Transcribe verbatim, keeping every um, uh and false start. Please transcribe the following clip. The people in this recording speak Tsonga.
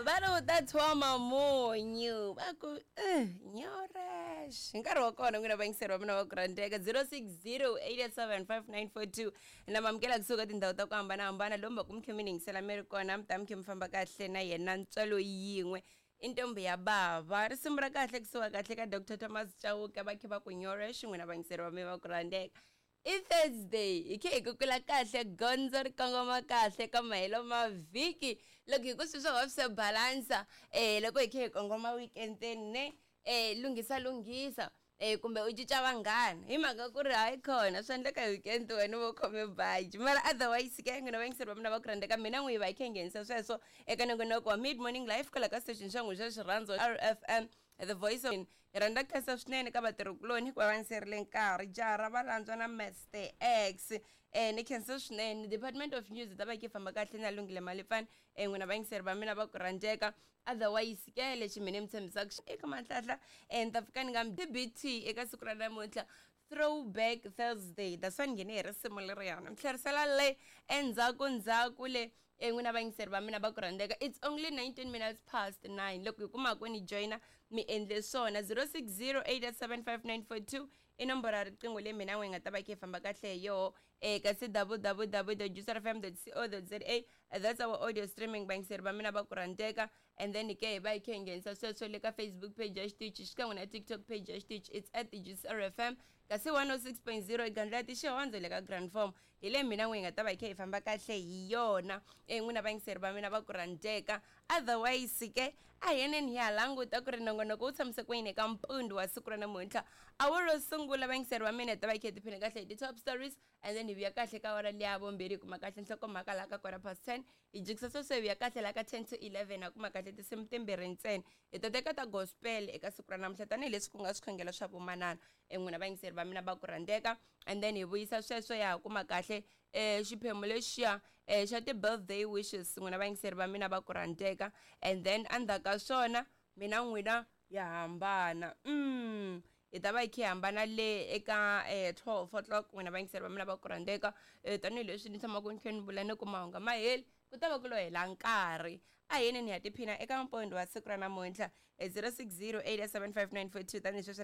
Va ri u ta tshova munyu va ku eh, nyorex. Hi nkarhi wa kona n'wina vayingiseri va mina va ku rhandzeka zero six zero eight eight seven five nine four two na mamukela kusuka tindhawu ta ku hambanahambana lomu va ku mi khe mi ni yingisela mi ri kona mi ta mi khe mi famba kahle na yena ntswalo yin'we i ntombi ya bava. Risimu ra kahle kusuka kahle ka Doctor Thomas Chauke va khe va ku nyorex n'wina vayingiseri va mina va ku rhandzeka. I Thursday hi khe hi kukula kahle gondzo ri kongoma kahle ka mahelo ma vhiki loko hi ku swi swo swi balansa eh loko hi khe hi kongoma weekendeni ne eh lunghisa lunghisa eh kumbe u cinca vanghana hi mhaka ku ri hayi khona swi endleka hi weekend wena u va u khome baji mara otherwise ke n'wina vayingiseri va mina va ku rhandzeka mina n'wi va hi khe hi nghenisa sweswo eka nongonoko wa mid morning life kwala ka station xa n'wina xa xirhandzo R F M the voice of hi rhandza ku khensa swinene ka vatirhikuloni hikuva va ni serile nkarhi jaha ra valandzwa na Mister X eh ni khensa swinene Department of News ta va yi famba kahle na Lungile Malipfani eh n'wina vayingiseri va mina va ku rhandzeka otherwise ke lexi mina mi tshembisaka eka manhlahla eh ni ta pfuka ni nga mi D B T eka siku ra namuntlha Throwback Thursday that's why ni nghene hi risimu leriyana mi tlherisela le endzhaku ndzhaku le eh n'wina vayingiseri va mina va ku rhandzeka it's only nineteen minutes past nine loko hi kumaka ni joina mi endle swona zero six zero eight eight seven five nine four two i nomboro ya riqingho leyi mina n'we hi nga ta va khe hi famba kahle hi yoho eh kasi w w w dot juice f m dot co dot z a that's our audio streaming vayingiseri va mina va ku rhandzeka and then ke hi va hi khe hi nghenisa sweswo le ka Facebook page ya xitichi xikan'we na TikTok page ya xitichi it's at Juice R F M kasi one oh six point zero gandla ya tixihondzo le ka Grand Form hi le mina n'we hi nga ta va hi khe hi famba kahle hi yona eh n'wina vayingiseri va mina va ku rhandzeka otherwise ke a hi yeneni hi ya languta ku ri nongonoko wu tshamise ku yini eka mpundzu wa siku ra namuntlha awara ro sungula vayingiseri va mina hi ta va hi khe hi tiphina kahle hi ti-top stories and then hi vuya kahle ka awara liya vumbirhi hi kuma kahle nhlokomhaka laha ka quarter past ten hi jikisa sweswo hi vuya kahle laha ka ten to eleven ha kuma kahle tinsimu timbirhi ntsena hi ta teka ta gospel eka siku ra namuntlha tanihileswi ku nga swikhongelo swa vomanana eh n'wina vayingiseri va mina va ku rhandzeka and then hi vuyisa sweswo ya ha kuma kahle eh xiphemu lexiya eh xa ti-birthday wishes n'wina vayingiseri va mina va ku rhandzeka and then endzhaku ka swona mina n'wina ya hambana mm hi ta va hi khe hi hambana le eka eh twelve o'clock n'wina vayingiseri va mina va ku rhandzeka eh tanihileswi ni tshamaka ni khe ni vula ni ku mahungu ma heli ku ta va ku lo hela nkarhi a hi yeneni hi ya tiphina eka mpondho wa siku ra namuntlha zero six zero eight seven five nine four two tanihileswi ni